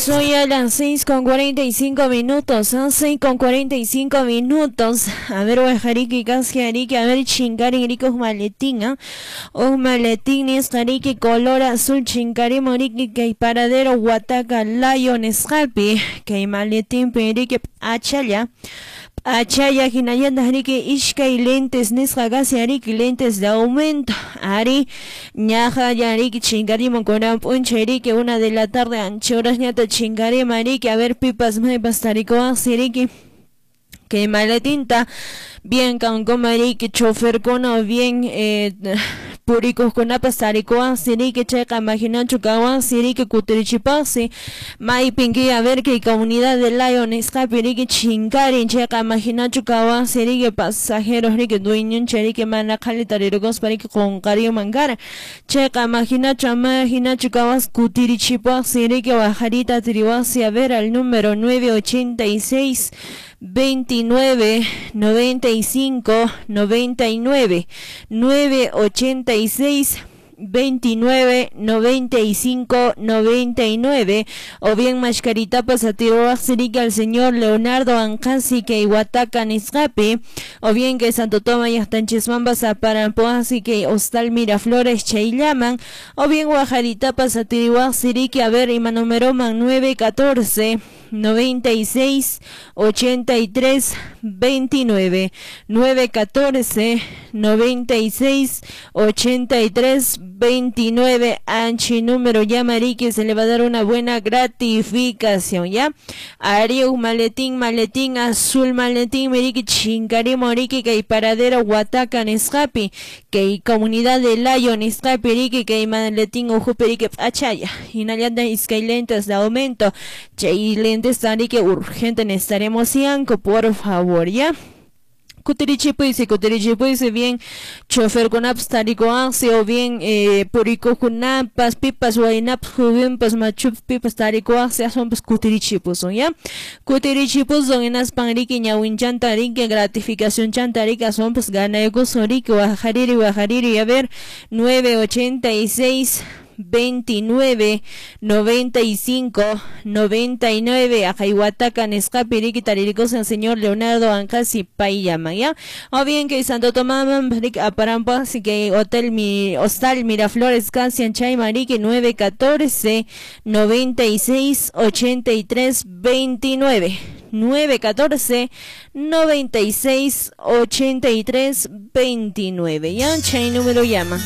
Soy a las 6:45, 6:45. A ver, wajariki, kasjariki, a ver, chinkarin, riki, maletín, ¿ah? Un maletín, nisqariki, color azul, chinkarimo, riki, kay paradero, Huataca, Lion, nisqapi, kay maletín, riki, achalla. Achaya hinallataq riki iskay lentes nisqa kasi riki lentes de aumento ari ñaqa ya riki chinkarimun kunan p'unchay riki 1 de la tarde ancha horasñata chinkarima riki a ver pipas maypas tarikuwaqsi riki kay maletinta bien kankuma riki choferkuna o bien purikuqkunapas tarikuwaqsi riki chayqa imaginachu kawaqsi riki kutirichipaqsi maypinki a ver kay comunidad de Lion nisqapi riki chinkarin chayqa imaginachu kawaqsi riki pasajeros riki dueñoncha riki mana qhali tarirukuspa riki qunqariyuman karan chayqa imaginachu kawaqsi kutirichipaqsi riki wajarita tiriwaqsi a ver al número 986 29 95 99 986 29 95 99 o bien mascaritapas atiruwaqsi al señor Leonardo Anqasi kay Huataca nisqapi o bien que Santo Tomás llaqtanchismanpas aparanpuwaqsi kay Hostal Miraflores chayllaman o bien wajaritapas atiriwaqsi a ver ima numeroman 914 96 83 29 914 96 83 29 anchi número llama riki se le va a dar una buena gratificación ya Ariu maletín maletín azul maletín miriki chinkarimo riki kay paradero Huataca nisqapi kay comunidad de Layo nisqapi riki kay maletín ujupi riki p'achalla hinallataq iskay lentes de aumento chay lentes riki urgente necesitaremos yanko por favor ya kutirichipuysi kutirichipuysi bien choferkunapas tarikuwansi o bien purikuqkunapas pipas waynapas jovenpas machupas pipas tarikuwaqsi aswanpas kutirichipusun ya kutirichipusun hinaspan riki ñawinchanta riki gratificacionchanta riki aswanpas ganaykusun riki wajariri wajariri a ver 986 29 95 99 aqay Huataca nisqapi riki taririkusan señor Leonardo Anqasi payllaman ya o bien que Santo Tomás riki aparanpaqsi kay hotel mi hostal Miraflores kasian chayman riki 914 96 83 29 914 96 83 29 ya chay número llama.